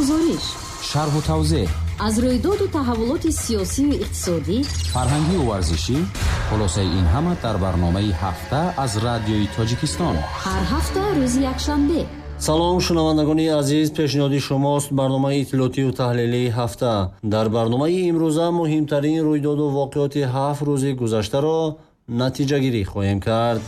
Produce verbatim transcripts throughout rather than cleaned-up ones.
Гузориш, шарҳу тавзеҳ аз рӯйдоду таҳаввулоти сиёсию иқтисодӣ, фарҳангию варзишӣ. Хулосаи ин ҳама дар барномаи ҳафта аз Радиои Тоҷикистон. Ҳар ҳафта рӯзи якшанбе. Салом, шунавандагони азиз, пешниҳоди шумост барномаи иттилоотию таҳлилии ҳафта. Дар барномаи имрӯза муҳимтарин рӯйдоду воқеоти ҳафт рӯзи гузаштаро натиҷагирӣ хоҳем кард.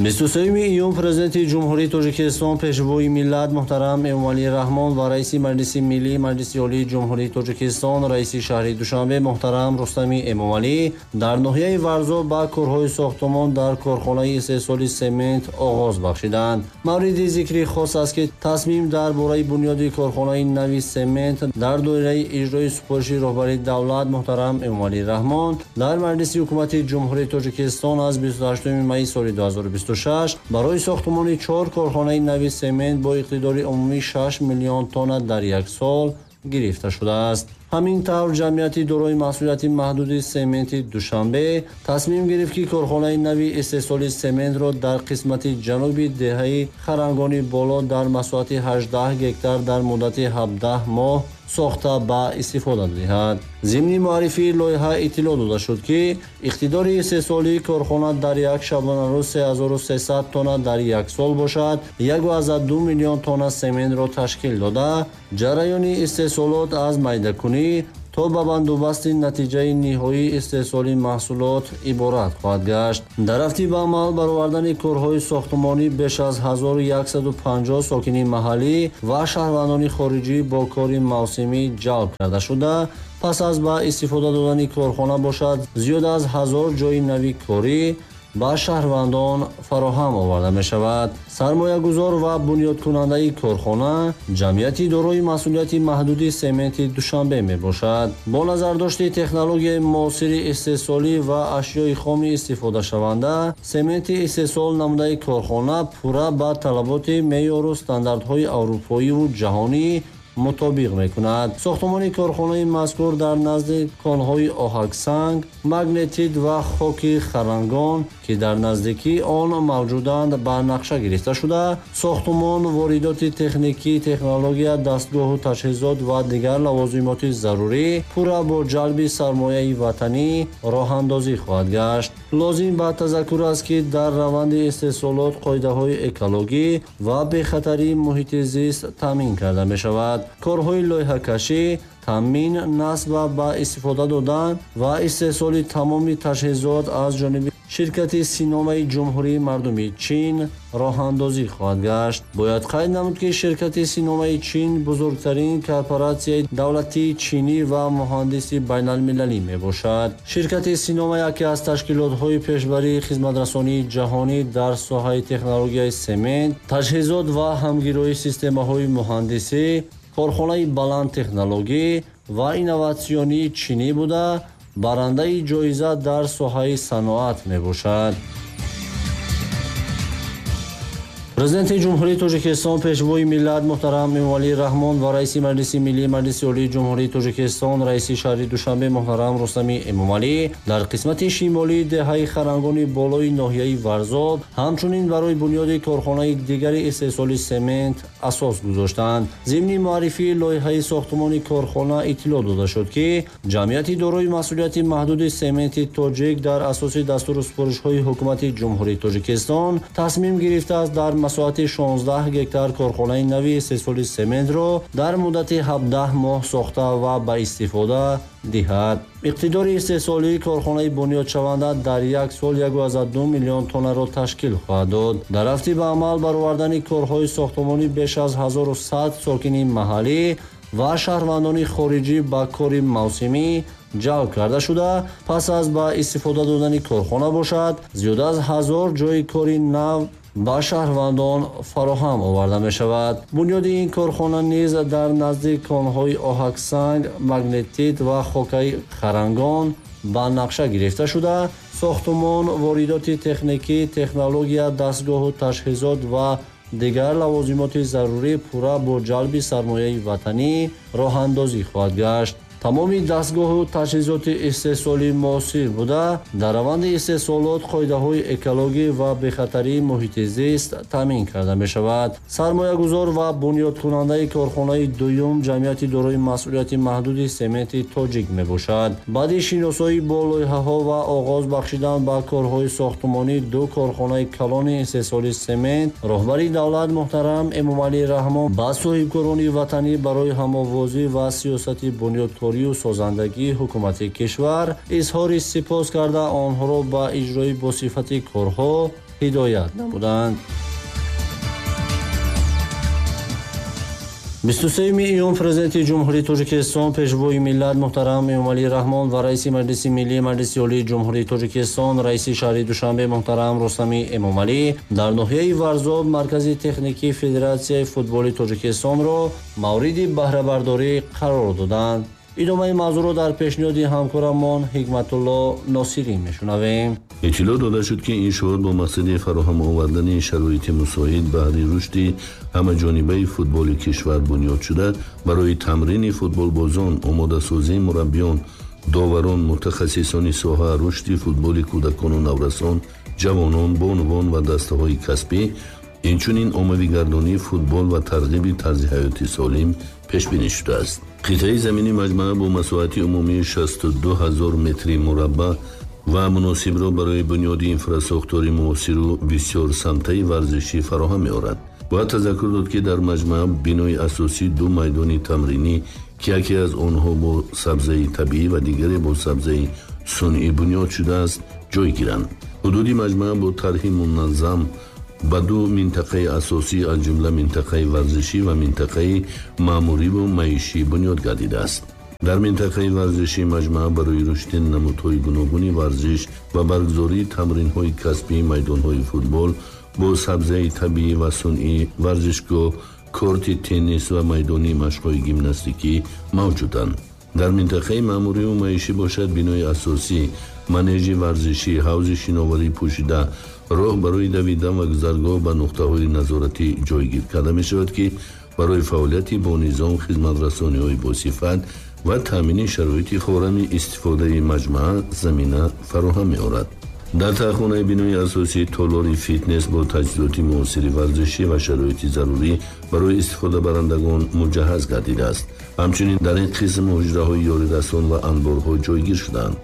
бисту сеюми июн Президенти Ҷумҳурии Тоҷикистон, Пешвои миллат муҳтарам Эмомалӣ Раҳмон ва Раиси Маҷлиси Миллӣ Маҷлиси Олии Ҷумҳурии Тоҷикистон, Раиси шаҳри Душанбе муҳтарам Рустами Эмомалӣ дар ноҳияи Варзоб ба корҳои сохтумон дар корхонаи истеҳсоли семент оғоз бахшиданд. Мавриди зикри хос аст, ки тасмим дар бораи бунёди корхонаи нави семент дар доираи иҷрои супориши роҳбари давлат муҳтарам Эмомалӣ Раҳмон дар Маҷлиси Ҳукумати Ҷумҳурии Тоҷикистон аз бисту ҳаштуми майи соли ду ҳазору бисту шаш барои сохтумони чор корхонаи нави семент бо иқтидори умумии шаш миллион тонна дар як сол гирифта шудааст. Ҳамин тавр ҷамъияти дорои масъулияти маҳдуди сементи Душанбе тасмим гирифт, ки корхонаи нави истеҳсоли сементро дар қисмати ҷануби деҳаи Харангони Боло дар масоҳати ҳаждаҳ гектар дар муддати ҳабдаҳ моҳ сохта ба истифода диҳад. Зимни муаррифии лоиҳа иттилоъ дода шуд, ки иқтидори истеҳсолии корхона дар як шабонарӯз се ҳазору сесад тонна дар як сол бошад, як ва ду миллион тонна сементро ташкил дода, ҷараёни истеҳсолот аз майдакунӣ то ба бандубасти натиҷаи ниҳоии истеҳсоли маҳсулот иборат хоҳад гашт. Дар рафти ба амал баровардани корҳои сохтумонӣ беш аз ҳазору яксаду панҷоҳ сокини маҳаллӣ ва шаҳрвандони хориҷӣ бо кори мавсимӣ ҷалб карда шуда, пас аз ба истифода додани корхона бошад, зиёд аз ҳазор ҷойи нави корӣ ба шаҳрвандон фароҳам оварда мешавад. Сармоягузор ва бунёдкунандаи корхона ҷамъияти дорои масъулияти маҳдуди сементи Душанбе мебошад. Бо назардошти технологияи муосири истеҳсолӣ ва ашёи хоми истифодашаванда, сементи истеҳсол намудаи корхона пурра ба талаботи меъёру стандартҳои аврупоиву ҷаҳонӣ мутобиқ мекунад. Сохтумони корхонаи мазкур дар назди конҳои оҳаксанг, магнетит ва хоки харангон, ки дар наздикии он мавҷуданд, ба нақша гирифта шуда, сохтумон, воридоти техникӣ, технология, дастгоҳу таҷҳизот ва дигар лавозимоти зарурӣ пурра бо ҷалби сармояи ватанӣ роҳандозӣ хоҳад гашт. Лозим ба тазаккур аст, ки дар раванди истеҳсолот қоидаҳои экологӣ ва бехатарии муҳити зист таъмин карда мешавад. Корҳои лоиҳакашӣ, таъмин, насб ва ба истифода додан ва истеҳсоли тамоми таҷҳизот аз ҷониби ширкати Синомаи Ҷумҳурии Мардумии Чин роҳандозӣ хоҳад гашт. Бояд қайд намуд, ки ширкати Синомаи Чин бузургтарин корпоратсияи давлатии чинӣ ва муҳандиси байналмилалӣ мебошад. Ширкати Синома яке аз ташкилотҳои пешбарии хизматрасонии ҷаҳонӣ дар соҳаи технологияи семент, таҷҳизот ва ҳамгироии системаҳои муҳандисӣ, корхонаи баландтехнологӣ ва инноватсионии чинӣ буда, барандаи ҷоиза дар соҳаи саноат мебошад. Президенти Ҷумҳурии Тоҷикистон, Пешвои миллат муҳтарам Эмомалӣ Раҳмон ва Раиси Маҷлиси Миллӣ Маҷлиси Олии Ҷумҳурии Тоҷикистон, Раиси шаҳри Душанбе муҳтарам Рустами Эмомалӣ дар қисмати шимолии деҳаи Харангони Болои ноҳияи Варзоб ҳамчунин барои бунёди корхонаи дигари истеҳсоли семент асос гузоштанд. Зимни муаррифии лоиҳаи сохтумони корхона иттилоъ дода шуд, ки ҷамъияти дорои масъулияти маҳдуди сементи тоҷик дар асоси дастуру супоришҳои Ҳукумати Ҷумҳурии Тоҷикистон тасмим гирифтааст дар масоҳати шонздаҳ гектар корхонаи нави истеҳсоли сементро дар муддати ҳабдаҳ моҳ сохта ва ба истифода диҳад. Иқтидори истеҳсолии корхонаи бунёдшаванда дар як сол як ва ду миллион тоннаро ташкил хоҳад дод. Дар рафти ба амал баровардани корҳои сохтумонӣ беш аз ҳазору сад сокини маҳаллӣ ва шаҳрвандони хориҷӣ ба кори мавсимӣ ҷалб карда шуда, пас аз ба истифода додани корхона бошад, зиёд аз ҳазор ҷойи кори нав ба шаҳрвандон фароҳам оварда мешавад. Бунёди ин корхона низ дар назди конҳои оҳаксанг, магнетит ва хокаи харангон ба нақша гирифта шуда, сохтумон, воридоти техникӣ, технология, дастгоҳу таҷҳизот ва дигар лавозимоти зарурӣ пурра бо ҷалби сармояи ватанӣ роҳандозӣ хоҳад гашт. Тамоми дастгоҳу таҷҳизоти истеҳсолӣ муосир буда, дар раванди истеҳсолот қоидаҳои экологӣ ва бехатарии муҳити зист таъмин карда мешавад. Сармоягузор ва бунёдкунандаи корхонаи дуюм ҷамъияти дорои масъулияти маҳдуди сементи тоҷик мебошад. Баъди шиносоӣ бо лоиҳаҳо ва оғоз бахшидан ба корҳои сохтмонӣ ду корхонаи калони истеҳсоли семент, роҳбари давлат муҳтарам Эмомалӣ Раҳмон ба соҳибкорони ватанӣ барои ҳамовозӣ ва сиёсати бунёдкорию созандагии ҳукумати кишвар изҳори сипос карда, онҳоро ба иҷрои босифати корҳо ҳидоят намуданд. бисту сеюми июн Президенти Ҷумҳурии Тоҷикистон, Пешвои миллат муҳтарам Эмомалӣ Раҳмон ва Раиси Маҷлиси Миллии Маҷлиси Олии Ҷумҳурии Тоҷикистон, Раиси шаҳри Душанбе муҳтарам Рустами Эмомалӣ дар ноҳияи Варзоб Маркази техникии Федератсияи футболи Тоҷикистонро мавриди баҳрабардорӣ қарор доданд. Идомаи мавзӯъро дар пешниҳоди ҳамкорамон Ҳикматулло Носирӣ мешунавем. Иттилоъ дода шуд, ки иншоот бо мақсади фароҳам овардани шароити мусоид баҳри рушди ҳамаҷонибаи футболи кишвар бунёд шуда, барои тамрини футболбозон, омодасозии мураббиён, доварон, мутахассисони соҳа, рушди футболи кӯдакону наврасон, ҷавонон, бонувон ва дастаҳои касбӣ, инчунин оммавигардонии футбол ва тарғиби тарзи ҳаёти солим пешбинӣ шудааст. Қитъаи замини маҷмаа бо масоҳати умумии шасту ду ҳазор метри мураббаъ ва муносибро барои бунёди инфрасохтори муосиру бисёрсамтаи варзишӣ фароҳам меорад. Бояд тазаккур дод, ки дар маҷмаа бинои асосӣ ду майдони тамринӣ, ки яке аз онҳо бо сабзаи табиӣ ва дигаре бо сабзаи сунъӣ бунёд шудааст, ҷой гиранд. Ҳудуди маҷмаа бо тарҳи муназзам ба ду минтақаи асосӣ, аз ҷумла минтақаи варзишӣ ва минтақаи маъмуриву маишӣ бунёд гардидааст. Дар минтақаи варзишӣ маҷмаа барои рушди намудҳои гуногуни варзиш ва баргузории тамринҳои касбии майдонҳои футбол бо сабзаи табиӣ ва сунъӣ, варзишгоҳ, корти теннис ва майдони машқҳои гимнастикӣ мавҷуданд. Дар минтақаи маъмуриву маишӣ бошад бинои асосӣ, манежи варзишӣ, ҳавзи шиноварӣ пӯшида, роҳ барои давидан ва гузаргоҳ ба нуқтаҳои назоратӣ ҷойгир карда мешавад, ки барои фаъолияти бо низом, хизматрасониҳои босифат ва таъмини шароити форами истифодаи маҷмаа замина фароҳам меорад. Дар таҳхонаи бинои асосӣ толори фитнес бо таҷҳизоти муосири варзишӣ ва шароити зарурӣ барои истифодабарандагон муҷаҳҳаз гардидааст. Ҳамчунин дар ин қисм ҳуҷраҳои ёрирасон ва анборҳо ҷойгир шудаанд.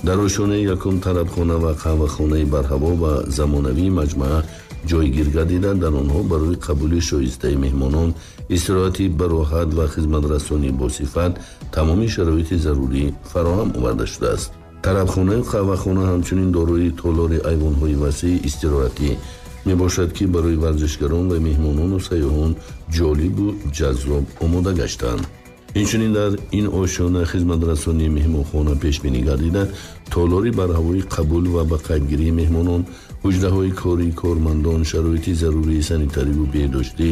Дар ошёнаи якум тарабхона ва қаҳвахонаи барҳаво ва замонавии маҷмаа ҷойгир гардида, дар онҳо барои қабули шоистаи меҳмонон, истироҳати бароҳат ва хизматрасонии босифат тамоми шароити зарурӣ фароҳам оварда шудааст. Тарабхонаю қаҳвахона ҳамчунин дорои толори айвонҳои васеи истироҳатӣ мебошад, ки барои варзишгарон ва меҳмонону сайёҳон ҷолибу ҷаззоб омода гаштаанд. Инчунин дар ин ошёна хизматрасонии меҳмонхона пешбинӣ гардида, толори барҳавои қабул ва ба қайдгирии меҳмонон, ҳуҷраҳои кории кормандон, шароити зарурии санитариву беҳдоштӣ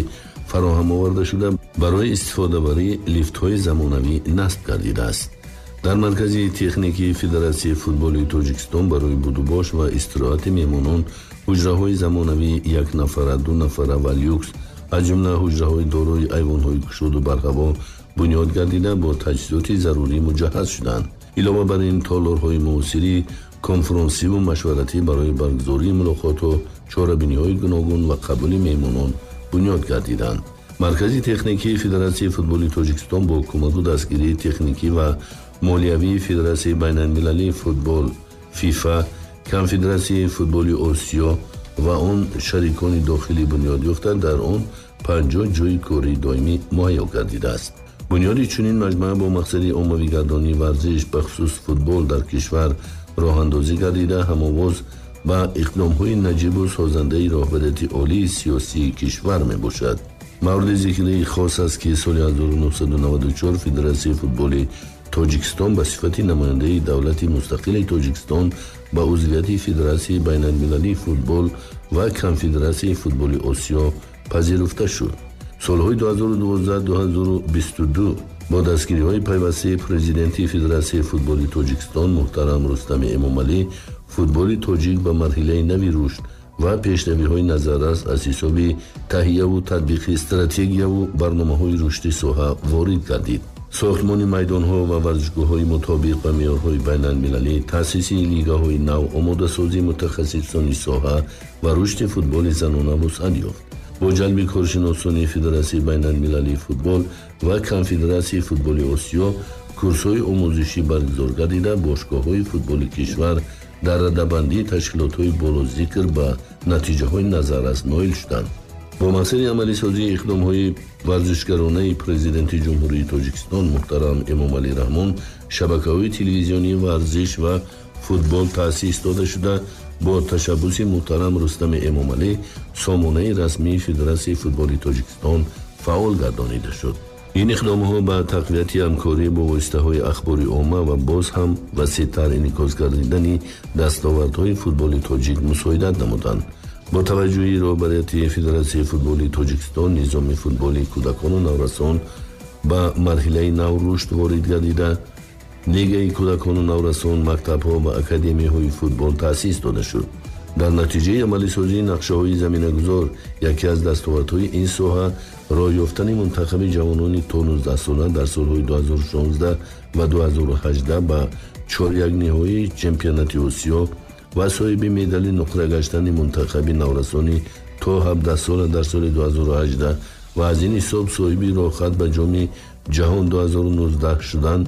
фароҳам оварда шуда, барои истифодабарӣ лифтҳои замонавӣ насб гардидааст. Дар маркази техникии Федератсияи футболи Тоҷикистон барои будубош ва истироҳати меҳмонон ҳуҷраҳои замонавии якнафара, дунафара ва люкс, аз ҷумла ҳуҷраҳои дорои айвонҳои кушоду барҳаво бунёд гардида, бо таҷҳизоти зарурӣ муҷаҳҳаз шуданд. Илова бар ин, толорҳои муосири конфронсиву машваратӣ барои баргузории мулоқотҳо, чорабиниҳои гуногун ва қабули меҳмонон бунёд гардиданд. Маркази техникии Федератсияи футболи Тоҷикистон бо кӯмаку дастгирии техникӣ ва молиявии Федератсияи байналмилалии футбол ФИФА, Конфедератсияи футболи Осиё ва он шарикони дохилӣ бунёд ёфта, дар он панҷоҳ ҷойи кории доимӣ муҳайё гардидааст. Бунёди чунин маҷмаа бо мақсади оммавигардонии варзиш, бахусус футбол дар кишвар роҳандозӣ гардида, ҳамовоз ба иқдомҳои наҷибу созандаи роҳбарияти олии сиёсии кишвар мебошад. Мавриди зикри хос аст, ки соли ҳазору нӯҳсаду наваду чор Федератсияи футболи Тоҷикистон ба сифати намояндаи давлати мустақили Тоҷикистон ба узвияти Федератсияи байналмилалии футбол ва Конфедератсияи футболи Осиё пазируфта шуд. Солҳои ду ҳазору дувоздаҳ ду ҳазору бисту ду бо дастгириҳои пайвастаи президенти Федератсияи футболи Тоҷикистон муҳтарам Рустами Эмомалӣ футболи тоҷик ба марҳилаи нави рушд ва пешравиҳои назаррас аз ҳисоби таҳияву татбиқи стратегияву барномаҳои рушди соҳа ворид гардид. Сохтмони майдонҳо ва варзишгоҳҳои мутобиқ ба меъёрҳои байналмилалӣ, таъсиси лигаҳои нав, омодасозии мутахассисони соҳа ва рушди футболи занона вусъат ёфт. Бо ҷалби коршиносони Федератсияи байналмилалии футбол ва Конфедератсияи футболи Осиё курсҳои омӯзишӣ баргузор гардида, бошгоҳҳои футболи кишвар дар радабандии ташкилотҳои болозикр ба натиҷаҳои назаррас ноил шуданд. Бо мақсади амалисозии иқдомҳои варзишгаронаи Президенти Ҷумҳурии Тоҷикистон муҳтарам Эмомалӣ Раҳмон шабакаҳои телевизионии варзиш ва футбол таъсис дода шуда, бо ташаббуси муҳтарам Рустами Эмомалӣ сомонаи расмии Федератсияи футболи Тоҷикистон фаъол гардонида шуд. Ин иқдомҳо ба тақвияти ҳамкорӣ бо воситаҳои ахбори омма ва боз ҳам васеътар инъикос гардидани дастовардҳои футболи тоҷик мусоидат намуданд. Бо таваҷҷӯҳи роҳбарияти Федератсияи футболи Тоҷикистон низоми футболи кӯдакону наврасон ба марҳилаи нав рушд ворид гардида, лигаи кӯдакону наврасон, мактабҳо ва академияҳои футбол таъсис дода шуд. Дар натиҷаи амалисозии нақшаҳои заминагузор яке аз дастовардҳои ин соҳа роҳ ёфтани мунтахаби ҷавонони то нуздаҳсола дар солҳои ду ҳазору шонздаҳ ва ду ҳазору ҳаждаҳ ба чорякниҳоии чемпионати Осиё ва соҳиби медали нуқра гаштани мунтахаби наврасони то ҳабдаҳсола дар соли ду ҳазору ҳаждаҳ ва аз ин ҳисоб соҳиби роҳхат ба ҷоми ҷаҳон ду ҳазору нуздаҳ шудан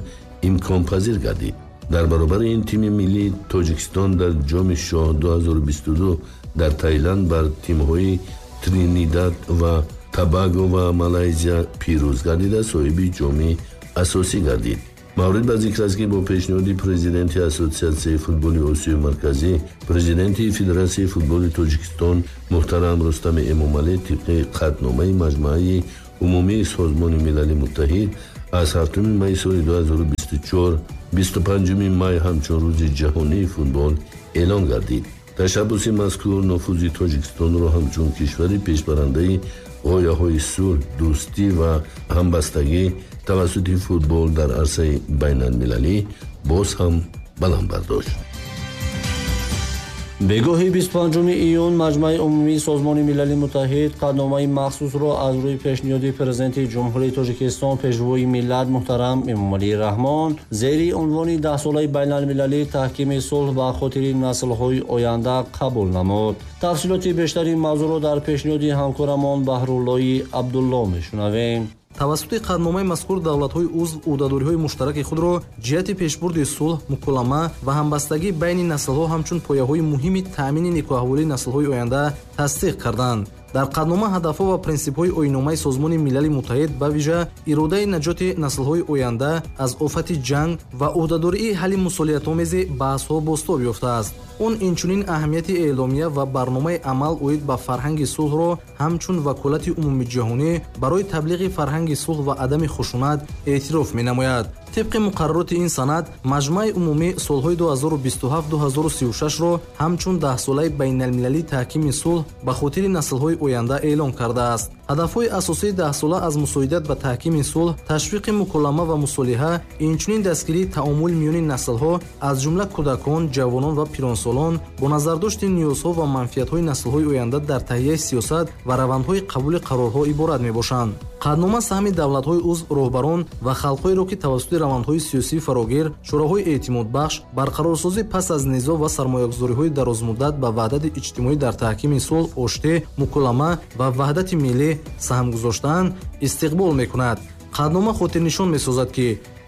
имконпазир гардид. Дар баробари ин тими миллии Тоҷикистон дар ҷоми шоҳ ду ҳазору бисту ду дар Таиланд бар тимҳои Тринидад ва Табаго ва Малайзия пирӯз гардида, соҳиби ҷоми асосӣ гардид. Маврид ба зикр аст, ки бо пешниҳоди президенти Ассотсиатсияи футболи Осиёи Марказӣ, президенти Федератсияи футболи Тоҷикистон муҳтарам Рустами Эмомалӣ тибқи қатъномаи Маҷмааи Умумии Созмони Милали Муттаҳид аз ҳафтуми майи соли ду ҳазору бисту чор бисту панҷуми май ҳамчун рӯзи ҷаҳонии футбол эълон гардид. Ташаббуси мазкур нуфузи Тоҷикистонро ҳамчун кишвари пешбарандаи ғояҳои сулҳ, дӯстӣ ва ҳамбастагӣ тавассути футбол дар арсаи байналмилалӣ боз ҳам баланд бардошт. Бегоҳи бисту панҷуми июн Маҷмааи Умумии Созмони Милали Муттаҳид қатъномаи махсусро аз рӯи пешниҳоди Президенти Ҷумҳурии Тоҷикистон Пешвои миллат муҳтарам Эмомалӣ Раҳмон зери унвони даҳсолаи байналмилалии таҳкими сулҳ ба хотири наслҳои оянда қабул намуд. Тафсилоти бештари мавзӯъро дар пешниҳоди ҳамкорамон Баҳруллои Абдулло мешунавем. Тавассути қатъномаи мазкур давлатҳои узв ӯҳдадориҳои муштараки худро ҷиҳати пешбурди сулҳ, муколама ва ҳамбастагӣ байни наслҳо ҳамчун пояҳои муҳими таъмини некӯаҳволии наслҳои оянда тасдиқ карданд. Дар қатънома ҳадафҳо ва принсипҳои оинномаи Созмони Милали Муттаҳид ба вижа иродаи наҷоти наслҳои оянда аз офати ҷанг ва ӯҳдадории ҳалли мусолиҳатомези баҳсҳо бозтоб ёфтааст. Он инчунин аҳамияти эъломия ва барномаи амал оид ба фарҳанги сулҳро ҳамчун ваколати умумиҷаҳонӣ барои таблиғи фарҳанги сулҳ ва адами хушунат эътироф менамояд. Тибқи муқаррароти ин санад, Маҷмааи Умумӣ солҳои ду ҳазору бисту ҳафт ду ҳазору сию шашро ҳамчун даҳсолаи байналмилалии таҳкими сулҳ ба хотири наслҳои оянда эълон кардааст. Ҳадафҳои асосии даҳсола аз мусоидат ба таҳкими сулҳ, ташвиқи муколама ва мусолиҳа, инчунин дастгирии таомул миёни наслҳо, аз ҷумла кӯдакон, ҷавонон ва пиронсолон, бо назардошти ниёзҳо ва манфиатҳои наслҳои оянда дар таҳияи сиёсат ва равандҳои қабули қарорҳо иборат мебошанд. Қатънома саҳми давлатҳои узв, роҳбарон ва халқҳоеро, ки тавассути равандҳои сиёсии фарогир, чораҳои эътимодбахш, барқарорсозӣ пас аз низоъ ва сармоягузориҳои дарозмуддат ба ваҳдати иҷтимоӣ дар таҳкими сулҳ, оштӣ, муколама ва ваҳдати миллӣ саҳм гузоштаанд, истиқбол мекунад. Қатънома хотирнишон месозад, ки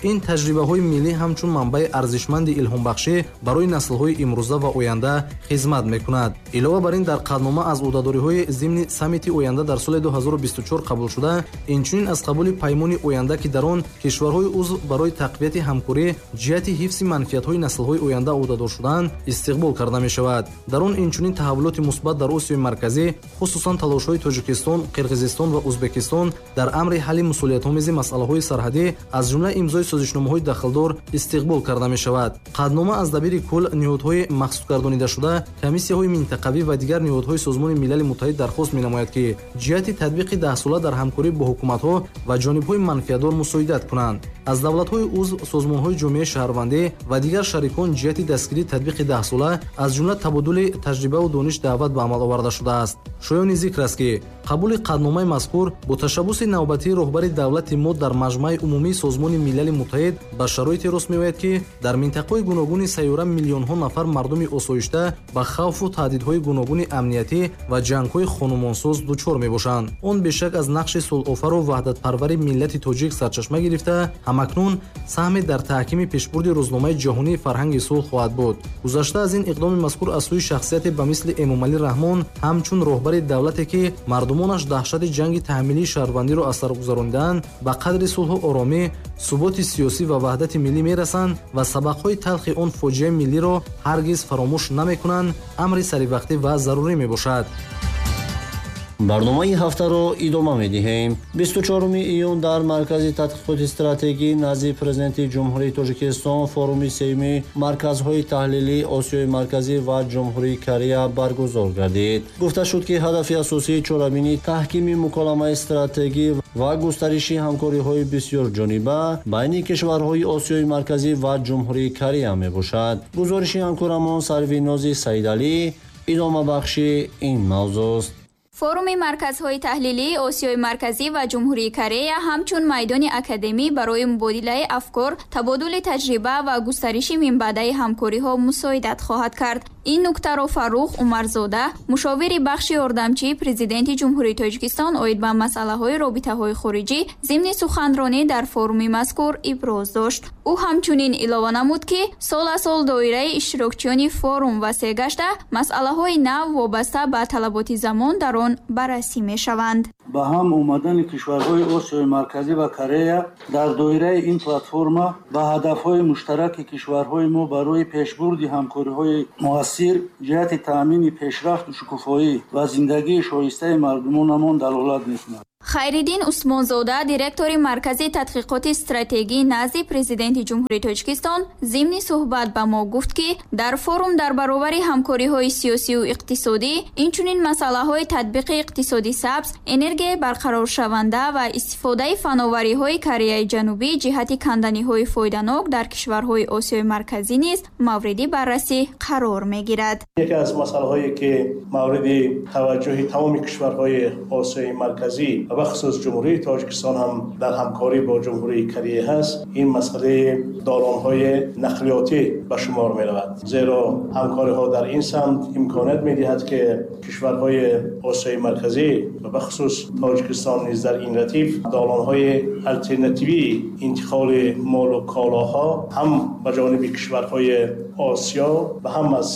ин таҷрибаҳои миллӣ ҳамчун манбаи арзишманди илҳомбахшӣ барои наслҳои имрӯза ва оянда хизмат мекунад. Илова бар ин, дар қатънома аз ӯҳдадориҳои зимни саммити оянда дар соли ду ҳазору бисту чор қабулшуда, инчунин аз қабули паймони оянда, ки дар он кишварҳои узв барои тақвияти ҳамкорӣ ҷиҳати ҳифзи манфиатҳои наслҳои оянда ӯҳдадор шудаанд, истиқбол карда мешавад. Дар он инчунин таҳаввулоти мусбат дар Осиёи Марказӣ, хусусан талошҳои Тоҷикистон, Қирғизистон ва Ӯзбекистон дар амри ҳалли мусолиҳатомези масъалаҳои сарҳадӣ, аз ҷумла имзои созишномаҳои дахлдор истиқбол карда мешавад. Қатънома аз дабири кул, ниҳодҳои махсусгардонидашуда, комиссияҳои минтақавӣ ва дигар ниҳодҳои Созмони Милали Муттаҳид дархост менамояд, ки ҷиҳати татбиқи даҳсола дар ҳамкорӣ бо ҳукуматҳо ва ҷонибҳои манфиатдор мусоидат кунанд. Аз давлатҳои узв, созмонҳои ҷомеаи шаҳрвандӣ ва дигар шарикон ҷиҳати дастгирии татбиқи даҳсола, аз ҷумла табодули таҷрибаву дониш даъват ба амал оварда шудааст. Шоёни зикр аст, ки қабули қатъномаи мазкур бо ташаббуси навбатии роҳбари давлати мо дар Маҷмааи умумии Созмони Милали Муттаҳид ба шароите рост меояд, ки дар минтақаҳои гуногуни сайёра миллионҳо нафар мардуми осоишта ба хавфу таҳдидҳои гуногуни амниятӣ ва ҷангҳои хонумонсоз дучор мебошанд. Он бешак аз нақши сулҳофару ваҳдатпарвари миллати тоҷик сарчашма гирифта, ҳамакнун саҳме дар таҳкими пешбурди рӯзномаи ҷаҳонии фарҳанги сулҳ хоҳад буд. Гузашта аз ин, иқдоми мазкур аз сӯи шахсияте ба мисли Эмомалӣ Раҳмон ҳамчун роҳбари давлате, ки мардумонаш даҳшати ҷанги таҳмилии шаҳрвандиро аз сар гузаронидаанд, ба қадри сулҳу оромӣ, суботи сиёсӣ ва ваҳдати миллӣ мерасанд ва сабақҳои талхи он фоҷиаи миллиро ҳаргиз фаромӯш намекунанд, амри саривақтӣ ва зарурӣ мебошад. Барномаи ҳафтаро идома медиҳем. Бисту чоруми июн дар Маркази тадқиқоти стратегӣ назди Президенти Ҷумҳурии Тоҷикистон форуми сеюми марказҳои таҳлилии Осиёи Марказӣ ва Ҷумҳурии Корея баргузор гардид. Гуфта шуд, ки ҳадафи асосии чорабинӣ таҳкими муколамаи стратегӣ ва густариши ҳамкориҳои бисёрҷониба байни кишварҳои Осиёи Марказӣ ва Ҷумҳурии Корея мебошад. Гузориши ҳамкорамон Сарвинози Саидалӣ идомабахши ин мавзӯст. Форуми марказҳои таҳлилии Осиёи Марказӣ ва Ҷумҳурии Корея ҳамчун майдони академӣ барои мубодилаи афкор, табодули таҷриба ва густариши минбаъдаи ҳамкориҳо мусоидат хоҳад кард. Ин нуктаро Фаррух Умарзода, мушовири бахши ёрдамчии Президенти Ҷумҳурии Тоҷикистон оид ба масъалаҳои робитаҳои хориҷӣ зимни суханронӣ дар форуми мазкур иброз дошт. Ӯ ҳамчунин илова намуд, ки сол аз сол доираи иштирокчиёни форум васеъ гашта, масъалаҳои нав вобаста ба талаботи замон дар он баррасӣ мешаванд. Ба ҳам омадани кишварҳои Осиёи Марказӣ ва Корея дар доираи ин платформа ба ҳадафҳои муштараки кишварҳои мо барои пешбурди ҳамкориҳои муассир ҷиҳати таъмини пешрафту шукуфоӣ ва зиндагии шоистаи мардумонамон далолат мекунад. Хайриддин Усмонзода, директори Маркази тадқиқоти стратегӣ назди Президенти Ҷумҳурии Тоҷикистон, зимни суҳбат ба мо гуфт, ки дар форум дар баробари ҳамкориҳои сиёсию иқтисодӣ, инчунин масъалаҳои татбиқи иқтисоди сабз, энергияи барқароршаванда ва истифодаи фановариҳои Кореяи Ҷанубӣ ҷиҳати канданиҳои фоиданок дар кишварҳои Осиёи Марказӣ низ мавриди баррасӣ қарор мегирад. Яке аз масъалаҳое, ки мавриди таваҷҷӯҳи тамоми кишварҳои Осиёи Марказӣ ва бахусус Ҷумҳурии Тоҷикистон ҳам дар ҳамкорӣ бо Ҷумҳурии Корея ҳаст, ин масъалаи долонҳои нақлиётӣ ба шумор меравад. Зеро ҳамкориҳо дар ин самт имконият медиҳад, ки кишварҳои Осиёи Марказӣ ва бахусус Тоҷикистон низ дар ин ратиф долонҳои алтернативии интиқоли молу колоҳо ҳам ба ҷониби кишварҳои Осиё ва ҳам аз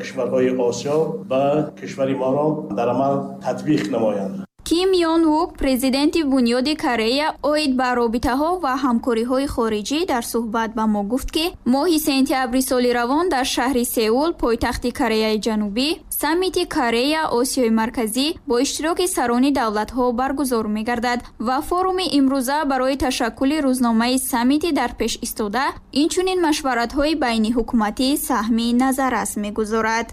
кишварҳои Осиё ба кишвари моро дар амал татбиқ намоянд. Ким Йон Вук, президенти Бунёди Корея, оид ба робитаҳо ва ҳамкориҳои хориҷӣ дар суҳбат ба мо гуфт, ки моҳи сентябри соли равон дар шаҳри Сеул, пойтахти Кореяи Ҷанубӣ, саммити Корея Осиёи Марказӣ бо иштироки сарони давлатҳо баргузор мегардад ва форуми имрӯза барои ташаккули рӯзномаи саммити дар пеш истода, инчунин машваратҳои байниҳукуматӣ саҳми назаррас мегузорад.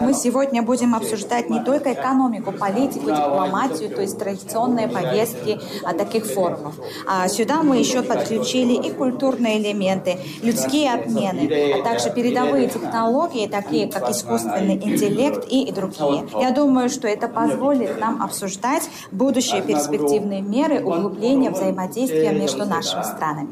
Мы сегодня будем обсуждать не только экономику, политику, дипломатию, то есть традиционные повестки таких форумов. А сюда мы еще подключили и культурные элементы, людские обмены, а также передовые технологии, такие как искусственный интеллект и другие. Я думаю, что это позволит нам обсуждать будущие перспективные меры углубления взаимодействия между нашими странами.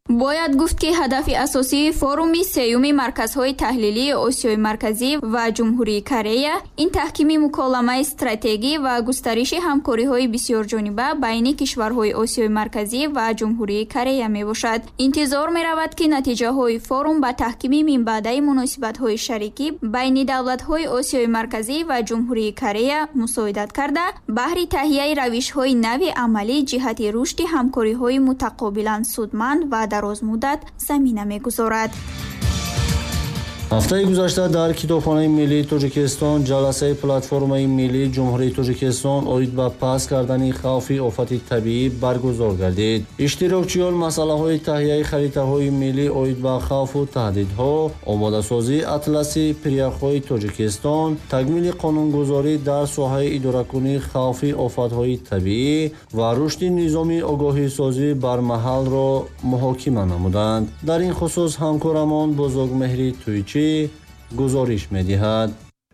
Бояд гуфт, ки ҳадафи асосии форуми сеюми марказҳои таҳлилии Осиёи Марказӣ ва Ҷумҳурии Корея ин таҳкими муколамаи стратегӣ ва густариши ҳамкориҳои бисёрҷониба байни кишварҳои Осиёи Марказӣ ва Ҷумҳурии Корея мебошад. Интизор меравад, ки натиҷаҳои форум ба таҳкими минбаъдаи муносибатҳои шарикӣ байни давлатҳои Осиёи Марказӣ ва Ҷумҳурии Корея мусоидат карда, баҳри таҳияи равишҳои нави амалӣ ҷиҳати рушди ҳамкориҳои мутақобилан судманд ва дарозмуддат замина мегузорад. Ҳафтаи гузашта дар Китобхонаи миллии Тоҷикистон ҷаласаи платформаи миллии Ҷумҳурии Тоҷикистон оид ба паст кардани хавфи офати табиӣ баргузор гардид. Иштирокчиён масъалаҳои таҳияи харитаҳои миллӣ оид ба хавфу таҳдидҳо, омодасозии атласи пиряхҳои Тоҷикистон, такмили қонунгузорӣ дар соҳаи идоракунии хавфи офатҳои табиӣ ва рушди низоми огоҳисозӣ бармаҳалро муҳокима намуданд. Дар ин хусус ҳамкорамон Бузургмеҳри Туйчӣ гузориш медиҳад.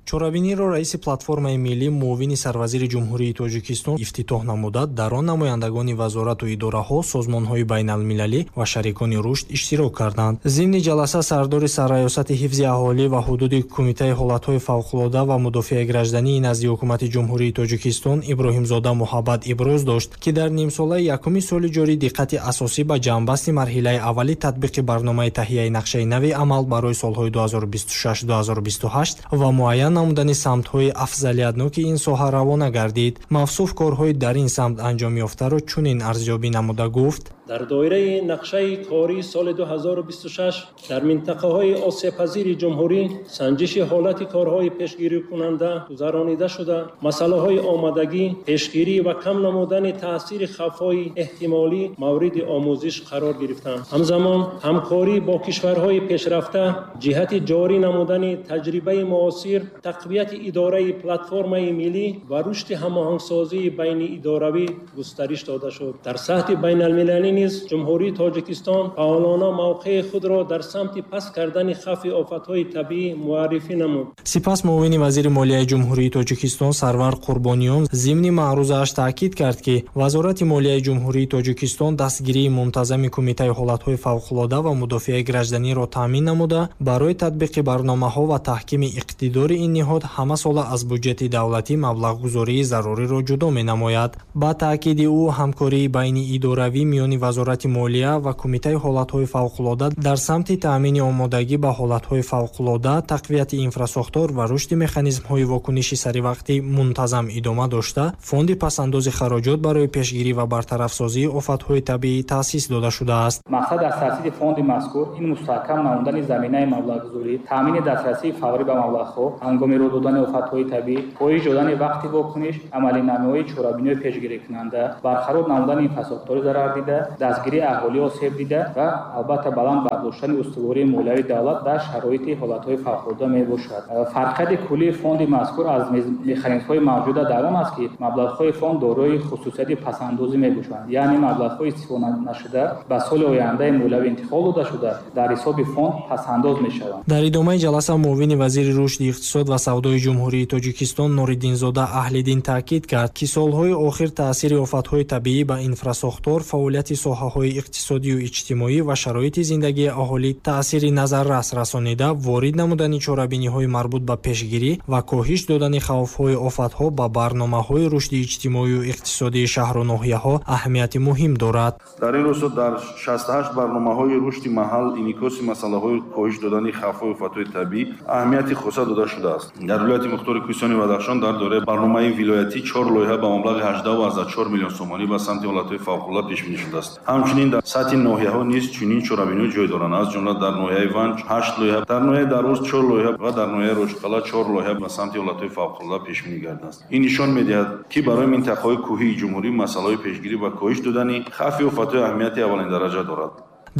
Чорабиниро раиси платформаи миллӣ, муовини сарвазири Ҷумҳурии Тоҷикистон ифтитоҳ намуда, дар он намояндагони вазорату идораҳо, созмонҳои байналмилалӣ ва шарикони рушд иштирок карданд. Зимни ҷаласа сардори Сарраёсати ҳифзи аҳолӣ ва ҳудуди Кумитаи ҳолатҳои фавқулода ва мудофиаи граждании назди Ҳукумати Ҷумҳурии Тоҷикистон Иброҳимзода Муҳаббат иброз дошт, ки дар нимсолаи якуми соли ҷорӣ диққати асосӣ ба ҷамъбасти марҳилаи аввали татбиқи барномаи таҳияи нақшаи нави амал барои солҳои ду ҳазору бисту шаш - ду ҳазору бисту ҳашт ва муайян намудани самтҳои афзалиятноки ин соҳа равона гардид. Мавсуф корҳои дар ин самт анҷом ёфтаро чунин арзёбӣ намуда гуфт: дар доираи нақшаи кории соли ду ҳазору бисту шаш дар минтақаҳои осебпазири ҷумҳурӣ санҷиши ҳолати корҳои пешгирикунанда гузаронида шуда, масъалаҳои омодагӣ, пешгирӣ ва кам намудани таъсири хавфҳои эҳтимолӣ мавриди омӯзиш қарор гирифтанд. Ҳамзамон ҳамкорӣ бо кишварҳои пешрафта ҷиҳати ҷорӣ намудани таҷрибаи муосир, тақвияти идораи платформаи миллӣ ва рушди ҳамоҳангсозии байниидоравӣ густариш дода шуд. Дар сатҳи байналмилалӣ низ Ҷумҳурии Тоҷикистон фаъолона мавқеи худро дар самти паст кардани хавфи офатҳои табиӣ муаррифӣ намуд. Сипас муовини вазири молияи Ҷумҳурии Тоҷикистон Сарвар Қурбониён зимни маърузааш таъкид кард, ки Вазорати молияи Ҷумҳурии Тоҷикистон дастгирии мунтазами Кумитаи ҳолатҳои фавқулода ва мудофиаи гражданиро таъмин намуда, барои татбиқи барномаҳо ва таҳкими иқтидори ин ниҳод ҳамасола аз буҷети давлатӣ маблағгузории заруриро ҷудо менамояд. Ба таъкиди ӯ, ҳамкории байниидоравӣ миёни Вазорати молия ва Кумитаи ҳолатҳои фавқулода дар самти таъмини омодагӣ ба ҳолатҳои фавқулода, тақвияти инфрасохтор ва рушди механизмҳои вокуниши саривақтӣ мунтазам идома дошта, фонди пасандози хароҷот барои пешгирӣ ва бартарафсозии офатҳои табиӣ таъсис дода шудааст. Мақсад аз таъсиси фонди мазкур ин мустаҳкам намудани заминаи маблағгузорӣ, таъмини дастрасии фаврӣ ба маблағҳо ҳангоми рӯй додани офатҳои табиӣ, коҳиш додани вақти вокуниш, амалинамоии чорабиниҳои пешгирикунанда, барқарор намудани инфрасохтори зарардида, дастгирии аҳолии осебдида ва албатта баланд бардоштани устувории молиявии давлат дар шароити ҳолатҳои фавқулода мебошад. Фарқияти куллии фонди мазкур аз механизмҳои мавҷуда дар он аст, ки маблағҳои фонд дорои хусусияти пасандозӣ мебошанд, яъне маблағҳои истифода нашуда ба соли ояндаи молиявӣ интиқол дода шуда дар ҳисоби фонд пасандоз мешаванд. Дар идомаи ҷаласа муовини вазири рушди иқтисод ва савдои Ҷумҳурии Тоҷикистон Нуриддинзода Аҳлиддин таъкид кард, ки солҳои охир таъсири офатҳои табиӣ ба инфрасохтор, фаъолияти соҳаҳои иқтисодию иҷтимоӣ ва шароити зиндагии аҳолӣ таъсири назаррас расонида, ворид намудани чорабиниҳои марбут ба пешгирӣ ва коҳиш додани хавфҳои офатҳо ба барномаҳои рушди иҷтимоию иқтисодии шаҳру ноҳияҳо аҳамияти муҳим дорад. Дар ин росто дар шасту ҳашт барномаҳои рушди маҳал инъикоси масъалаҳои коҳиш додани хавфҳои офатҳои табиӣ аҳамияти хоса дода шудааст. Дар вилояти мухтори Кӯҳистони Бадахшон дар доираи барномаи вилоятӣ чор лоиҳа ба маблағи ҳаждаҳ ва чор миллион сомонӣ ба самти ҳолатҳои фавқулода пешбинӣ шудааст. Ҳамчунин дар сатҳи ноҳияҳо низ чунин чорабиниҳо ҷой доранд. Аз ҷумла дар ноҳияи Ванҷ ҳашт лоиҳа, дар ноҳияи Дарвоз чор лоиҳа ва дар ноҳияи Рӯшқалъа чор лоиҳа ба самти ҳолатҳои фавқулода пешбинӣ гардааст. Ин нишон медиҳад, ки барои минтақаҳои кӯҳии ҷумҳурӣ масъалаҳои пешгирӣ ва коҳиш додани хавфи офатҳои аҳамияти аввалин дараҷа дорад.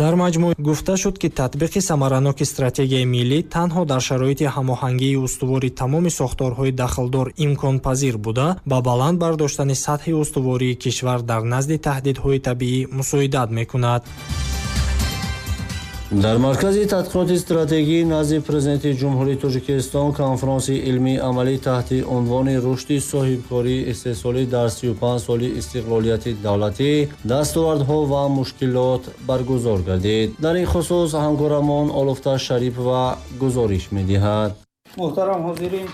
Дар маҷмӯъ гуфта шуд, ки татбиқи самараноки стратегияи миллӣ танҳо дар шароити ҳамоҳангии устувори тамоми сохторҳои дахлдор имконпазир буда, ба баланд бардоштани сатҳи устувории кишвар дар назди таҳдидҳои табиӣ мусоидат мекунад. Дар Маркази тадқиқоти стратегӣ назди Президенти Ҷумҳурии Тоҷикистон конфронси илмии амалӣ таҳти унвони рушди соҳибкории истеҳсолӣ дар сию панҷ соли истиқлолияти давлатӣ, дастовардҳо ва мушкилот баргузор гардид. Дар ин хусус ҳамкорамон Олуфта Шарипова гузориш медиҳад. Муҳтарам ҳозирин,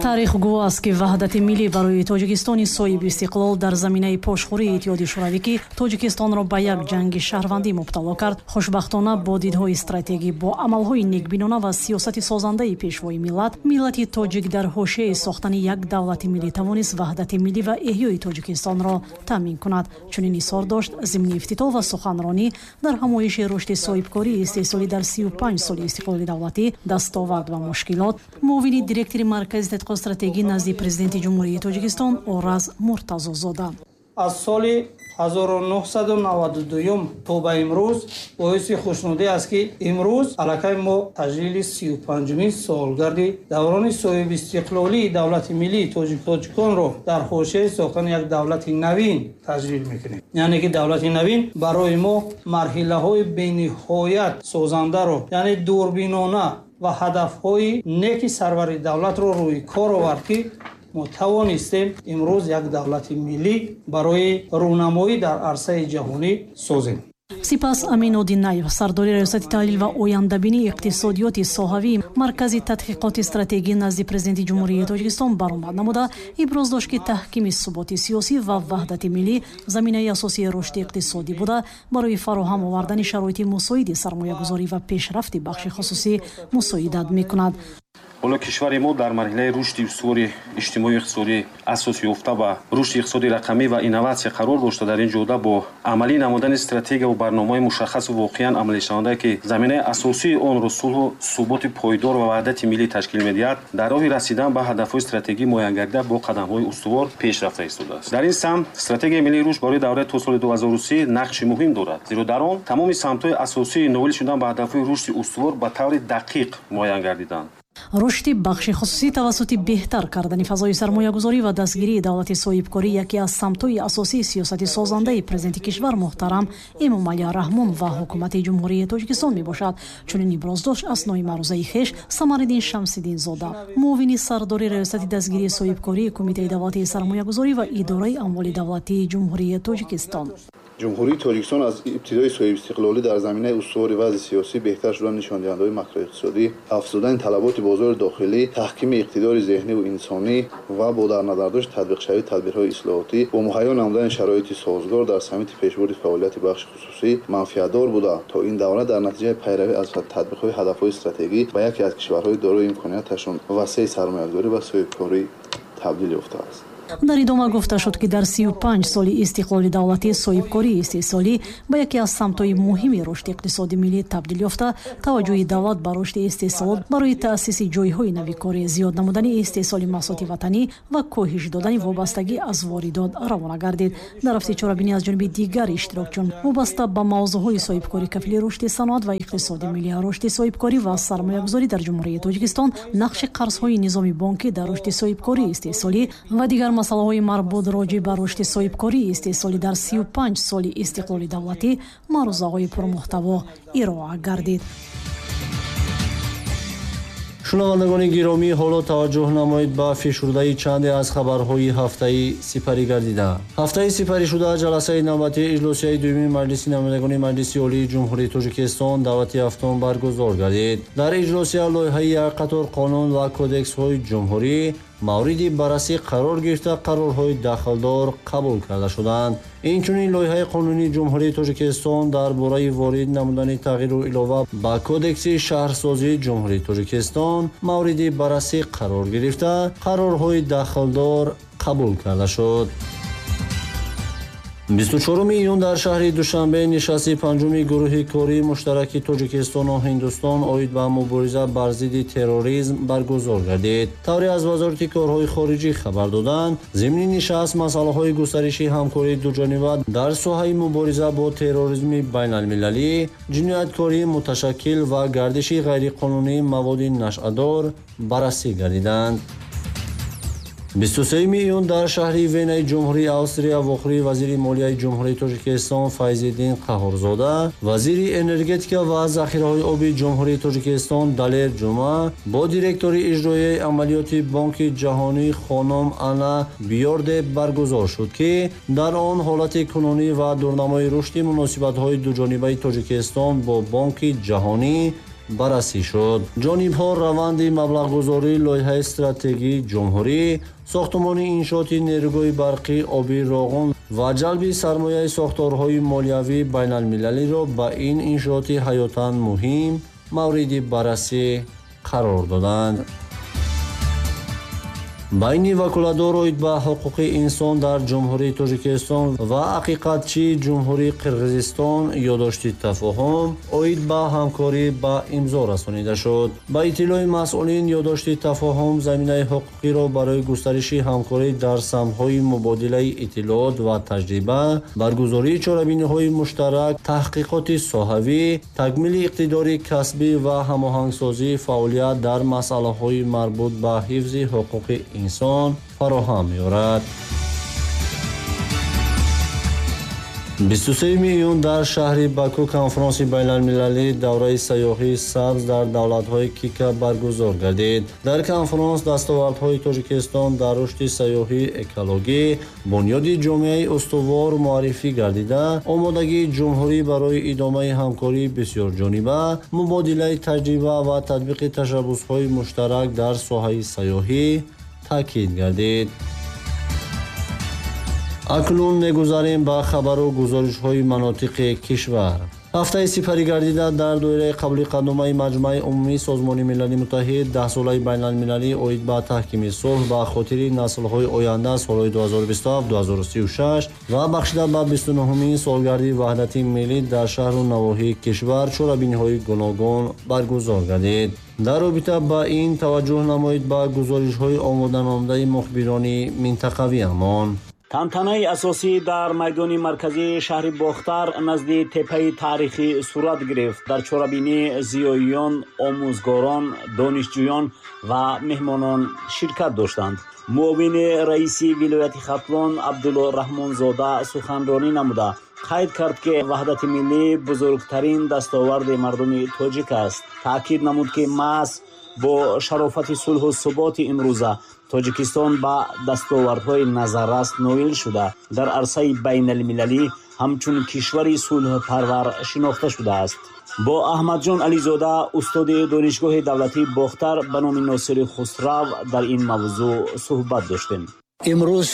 Таърих гувоҳ аст, ки ваҳдати миллӣ барои Тоҷикистони соҳиби истиқлол дар заминаи пошхӯрии Иттиҳоди Шӯравӣ, ки Тоҷикистонро ба як ҷанги шаҳрвандӣ мубтало кард, хушбахтона бо дидҳои стратегӣ, бо амалҳои некбинона ва сиёсати созандаи пешвои миллат, миллати тоҷик дар ҳошияи сохтани як давлати миллӣ тавонист ваҳдати миллӣ ва эҳёи Тоҷикистонро таъмин кунад. Чунин изҳор дошт зимни ифтитоҳ ва суханронӣ дар ҳамоиши рушди соҳибкории истеҳсолӣ дар сию панҷ соли истиқлоли давлатӣ, дастовард ва мушкилот, муовини директори Маркази тадқиқоти стратегӣ назди Президенти Ҷумҳурии Тоҷикистон Ораз Муртазозода. Аз соли ҳазору нӯҳсаду наваду дуюм то ба имрӯз боиси хушнудӣ аст, ки имрӯз аллакай мо таҷлили сию панҷумин солгарди даврони соҳибистиқлолии давлати миллии тоҷиконро дар ҳошияи сохтани як давлати навин таҷлил мекунем. Яъне ки давлати навин барои мо марҳилаҳои бениҳоят созандаро, яъне дурбинона ва ҳадафҳои неки сарвари давлатро рӯи кор овард, ки мо тавонистем имрӯз як давлати миллӣ барои рӯнамоӣ дар арсаи ҷаҳонӣ созем. Сипас Амин Одинаев, сардори раёсати таҳлил ва ояндабинии иқтисодиёти соҳавии Маркази тадқиқоти стратегӣ назди Президенти Ҷумҳурии Тоҷикистон баромад намуда, иброз дошт, ки таҳкими суботи сиёсӣ ва ваҳдати миллӣ заминаи асосии рушди иқтисодӣ буда, барои фароҳам овардани шароити мусоиди сармоягузорӣ ва пешрафти бахши хусусӣ мусоидат мекунад. Ҳоло кишвари мо дар марҳилаи рушди устувори иҷтимоию иқтисодӣ асос ёфта ба рушди иқтисоди рақамӣ ва инноватсия қарор дошта, дар ин ҷода бо амалӣ намудани стратегия ва барномаҳои мушаххасу воқеан амалишаванда, ки заминаи асосии онро сулҳу суботи пойдор ва ваҳдати миллӣ ташкил медиҳад, дар роҳи расидан ба ҳадафҳои стратегӣ муайянгардида бо қадамҳои устувор пеш рафта истодааст. Дар ин самт стратегияи миллии рушд барои давраи то соли ду ҳазору си нақши муҳим дорад, зеро дар он тамоми самтҳои асосии ноил шудан ба ҳадафҳои рушди устувор ба таври дақиқ муайян гардиданд. Рушди бахши хусусӣ тавассути беҳтар кардани фазои сармоягузорӣ ва дастгирии давлати соҳибкорӣ яке аз самтҳои асосии сиёсати созандаи президенти кишвар муҳтарам Эмомалӣ Раҳмон ва ҳукумати Ҷумҳурии Тоҷикистон мебошад. Чунин иброз дошт аснои маърузаи хеш Самариддин Шамсиддинзода, муовини сардори раёсати дастгирии соҳибкории Кумитаи давлатии сармоягузорӣ ва идораи амволи давлатии Ҷумҳурии Тоҷикистон. Ҷумҳурии Тоҷикистон аз ибтидои соҳибистиқлолӣ дар заминаи устувори вазъи сиёсӣ, беҳтар шудани нишондиҳандаҳои макроиқтисодӣ, афзудани талаботи бозори дохилӣ, таҳкими иқтидори зеҳниву инсонӣ ва бо дар назардошти татбиқшавии тадбирҳои ислоҳотӣ бо муҳайё намудани шароити созгор дар самти пешбурди фаъолияти бахши хусусӣ манфиатдор буда, то ин давра дар натиҷаи пайравӣ аз татбиқҳои ҳадафҳои стратегӣ ба яке аз кишварҳои дорои имконияташон васеи сармоягузорӣ ва соҳибкорӣ табдил ёфтааст. Дар идома гуфта шуд, ки дар сию панҷ соли истиқлоли давлатӣ соҳибкории истеҳсолӣ ба яке аз самтҳои муҳими рушди иқтисоди миллӣ табдил ёфта, таваҷҷӯҳи давлат ба рушди истеҳсолот барои таъсиси ҷойҳои нави корӣ, зиёд намудани истеҳсоли маҳсулоти ватанӣ ва коҳиш додани вобастагӣ аз воридот равона гардид. Дар рафти чорабинӣ аз ҷониби дигар иштирокчиён вобаста ба мавзӯъҳои соҳибкорӣ, кафили рушди саноат ва иқтисоди миллӣ, рушди соҳибкорӣ ва сармоягузорӣ дар Ҷумҳурии Тоҷикистон, нақши қарзҳои низоми бонкӣ дар рушди соҳибкории истеҳсолӣ ва дигар масъалаҳои марбут роҷеъ ба рушди соҳибкории истеҳсолӣ дар сию панҷ соли истиқлоли давлатӣ маърузаҳои пурмуҳтаво ироа гардид. Шунавандагони гиромӣ, ҳоло таваҷҷӯҳ намоед ба фишурдаи чанде аз хабарҳои ҳафтаи сипарӣ гардида. Ҳафтаи сипаришуда ҷаласаи навбатии иҷлосияи дуюми Маҷлиси намояндагони Маҷлиси Олии Ҷумҳурии Тоҷикистон даъвати ҳафтум баргузор гардид. Дар иҷлосия лоиҳаи як қатор қонун ва кодексҳои ҷумҳурӣ мавриди баррасӣ қарор гирифта, қарорҳои дахлдор қабул карда шуданд. Инчунин лоиҳаи қонунии Ҷумҳурии Тоҷикистон дар бораи ворид намудани тағйиру илова ба Кодекси шаҳрсозии Ҷумҳурии Тоҷикистон мавриди баррасӣ қарор гирифта, қарорҳои дахлдор қабул карда шуд. бисту чоруми июн дар шаҳри Душанбе нишасти панҷуми гурӯҳи кории муштараки Тоҷикистону Ҳиндустон оид ба мубориза бар зидди терроризм баргузор гардид. Тавре аз Вазорати корҳои хориҷӣ хабар доданд, зимни нишаст масъалаҳои густариши ҳамкории дуҷониба дар соҳаи мубориза бо терроризми байналмилалӣ, ҷинояткории муташаккил ва гардиши ғайриқонунии маводи нашъадор баррасӣ гардиданд. бисту сеюми июн дар шаҳри Венаи Ҷумҳурии Австрия вохӯрии вазири молияи Ҷумҳурии Тоҷикистон Файзиддин Қаҳҳорзода, вазири энергетика ва захираҳои оби Ҷумҳурии Тоҷикистон Далер Ҷума бо директори иҷроияи амалиёти Бонки Ҷаҳонӣ хонум Ана Бьорде баргузор шуд, ки дар он ҳолати кунунӣ ва дурнамои рушди муносибатҳои дуҷонибаи Тоҷикистон бо Бонки Ҷаҳонӣ баррасӣ шуд. Ҷонибҳо раванди маблағгузории лоиҳаи стратегии ҷумҳурӣ, сохтмони иншооти нерӯгоҳи барқи оби Роғун ва ҷалби сармояи сохторҳои молиявии байналмилалиро ба ин иншооти ҳаётан муҳим мавриди баррасӣ қарор доданд. Байни ваколатдор оид ба ҳуқуқи инсон дар Ҷумҳурии Тоҷикистон ва ҳақиқатчии Ҷумҳурии Қирғизистон ёддошти тафоҳум оид ба ҳамкорӣ ба имзо расонида шуд. Ба иттилои масъулин, ёддошти тафоҳум заминаи ҳуқуқиро барои густариши ҳамкорӣ дар самтҳои мубодилаи иттилоот ва таҷриба, баргузории чорабиниҳои муштарак, таҳқиқоти соҳавӣ, такмили иқтидори касбӣ ва ҳамоҳангсозии фаъолият дар масъалаҳои марбут ба ҳифзи ҳуқуқи инсон фароҳам меорад. Бисту сеюми июн дар шаҳри Баку конфронси байналмилалии давраи сайёҳии сабз дар давлатҳои Кика баргузор гардид. Дар конфронс дастовардҳои Тоҷикистон дар рушди сайёҳии экологӣ, бунёди ҷомеаи устувор муаррифӣ гардида, омодагии ҷумҳурӣ барои идомаи ҳамкории бисёрҷониба, мубодилаи таҷриба ва татбиқи ташаббусҳои муштарак дар соҳаи сайёҳӣ таъкид гардид. Акнун мегузарем ба хабару гузоришҳои манотиқи кишвар. Ҳафтаи сипарӣ гардида дар доираи қабули қатъномаи Маҷмаи умумии Созмони Милали Муттаҳид даҳсолаи байналмилалӣ оид ба таҳкими сулҳ ба хотири наслҳои оянда солҳои ду ҳазору бисту ҳафт ду ҳазору сию шаш ва бахшида ба бисту нуҳумин солгарди ваҳдати миллӣ дар шаҳру навоҳии кишвар чорабиниҳои гуногун баргузор гардид. Дар робита ба ин таваҷҷӯҳ намоед ба гузоришҳои омоданамудаи мухбирони минтақавиамон. Тантанаи асосӣ дар майдони марказии шаҳри Бохтар назди теппаи таърихӣ сурат гирифт. Дар чорабинӣ зиёиён, омӯзгорон, донишҷӯён ва меҳмонон ширкат доштанд. Муовини раиси вилояти Хатлон Абдулло Раҳмонзода суханронӣ намуда қайд кард, ки ваҳдати миллӣ бузургтарин дастоварди мардуми тоҷик аст. Таъкид намуд, ки маҳз бо шарофати сулҳу суботи имрӯза Тоҷикистон ба дастовардҳои назаррас ноил шуда, дар арсаи байналмилалӣ ҳамчун кишвари сулҳпарвар шинохта шудааст. Бо Аҳмадҷон Ализода, устоди Донишгоҳи давлатии Бохтар ба номи Носири Хусрав дар ин мавзӯъ суҳбат доштем. Имрӯз